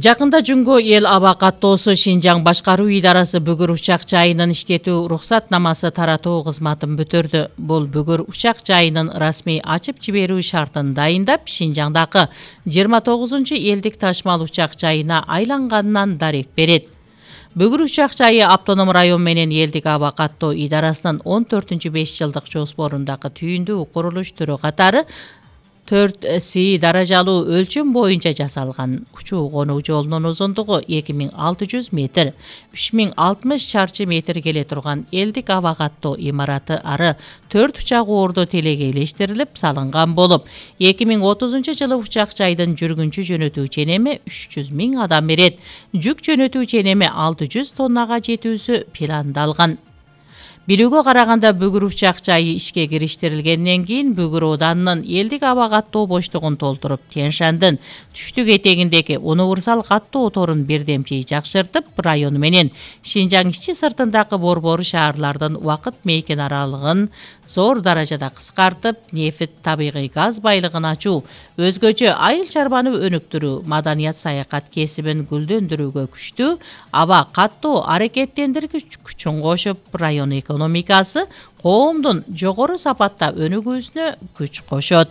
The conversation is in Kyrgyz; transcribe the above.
Жакында Жүнгө эл аба каттоосу Шинжаң башкаруу идарасы Бүгүр учак жайынын иштетүү уруксатнамасы таратуу кызматын бүтүрдү. Бул Бүгүр учак жайынын расмий ачып жиберүү шартын дайындап, Шинжаңдагы 29 элдик ташмал учак жайына айланганынан дарек берет. Бүгүр учак жайы автоном район менен элдик аба каттоо идарасынын 14-5 жылдык жоспорундагы түйүндүү курулуш түрү катары 4С даражалуу өлчөм боюнча жасалган. Учуу конуу жолунун узундугу 2600 метр, 3060 чарчы метр келе турган элдик аба каттоо имараты ары 4 учак оордо телегейлештирилип салынган болуп, 2030 жылы учак жайдын жүргүнчү жөнөтүү ченеми 300 000 адам берет. Жүк жөнөтүү ченеми 600 тоннага жетүүсү пландалган. Билүүгө караганда Бүгүр учак жайы ишке кириштирилгенден кийин Бүгүр Оданынын элдик аба каттоо боштугун толтуруп, Тянь-Шандын түштүк этегиндеги универсал каттоо торун бирдемчи жакшыртып, району менен Шинжаң ичи сыртындагы борбору шаарлардын убакыт мейкен аралыгын зор даражада кыскартып, нефт, табигый газ байлыгын ачуу, өзгөчө айыл чарбаны өнүктүрүү, маданият саякат кесибин гүлдөндүрүүгө күчтүү аба каттоо аракеттендиргич күчүн кошуп, район экономикасы, коомдун жогору сапатта өнүгүүсүнө күч кошот.